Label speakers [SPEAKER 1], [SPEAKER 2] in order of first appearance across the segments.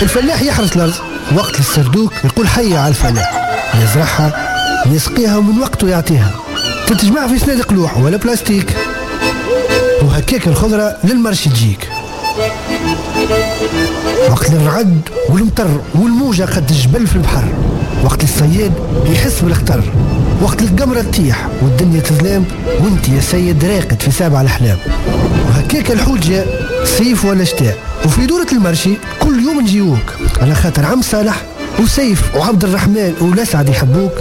[SPEAKER 1] الفلاح يحرث الارض وقت السردوك يقول حي على الفلاح، يزرعها يسقيها ومن وقته يعطيها، تتجمع في صناديق لوح ولا بلاستيك، وهكاك الخضرة لل marché تجيك. وقت الرعد والمطر والموجة قد الجبل في البحر، وقت الصياد يحس بالخطر، وقت القمرة تطيح والدنيا تظلام وانت يا سيد راقد في سابع الأحلام. وهكاك الحوت جاء صيف ولا شتاء، وفي دورة ال marché كل يوم نجيوك على خاطر عم صالح وسيف وعبد الرحمن ولسعد يحبوك.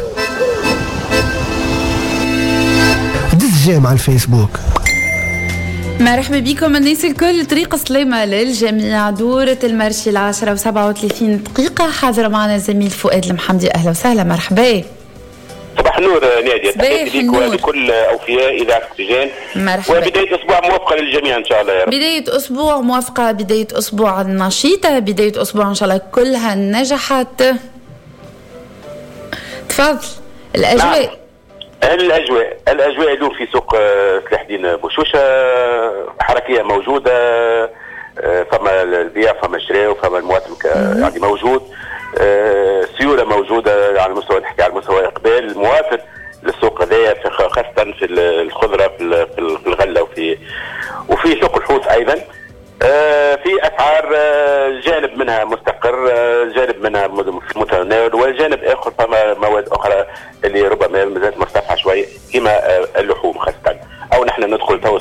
[SPEAKER 1] دز j'aime على الفيسبوك.
[SPEAKER 2] مرحبا بكم الناس الكل، طريق سلامة للجميع. دورة ال marché 10:37، حاضر معنا الزميل فؤاد المحمدي. أهلا وسهلا، مرحبا.
[SPEAKER 3] صباح النور نادية، تحياتي لك ولكل أوفياء إذاعة أكسجين.
[SPEAKER 2] مرحبا،
[SPEAKER 3] وبداية أسبوع موفقة للجميع إن شاء الله يا رب.
[SPEAKER 2] بداية أسبوع موفقة، بداية أسبوع نشيطة، بداية أسبوع إن شاء الله كلها نجاحات. تفضل الأجواء.
[SPEAKER 3] نعم. الاجواء اليوم في سوق سلاح الدين بوشوشه حركية موجودة، فما البيع فما الشراء وفما المواطن يعني موجود، سيولة موجودة على المستوى، نحكي على المستوى اقبال المواطن للسوق هذايا، خاصة في الخضرة في الغلة وفي سوق الحوت ايضا. في اسعار جانب منها مستقر، جانب منها في المتناول، وجانب اخر فما مواد اخرى اللي ربما مازالت مرتفعة شوي كما اللحوم خاصة. او نحن ندخل تو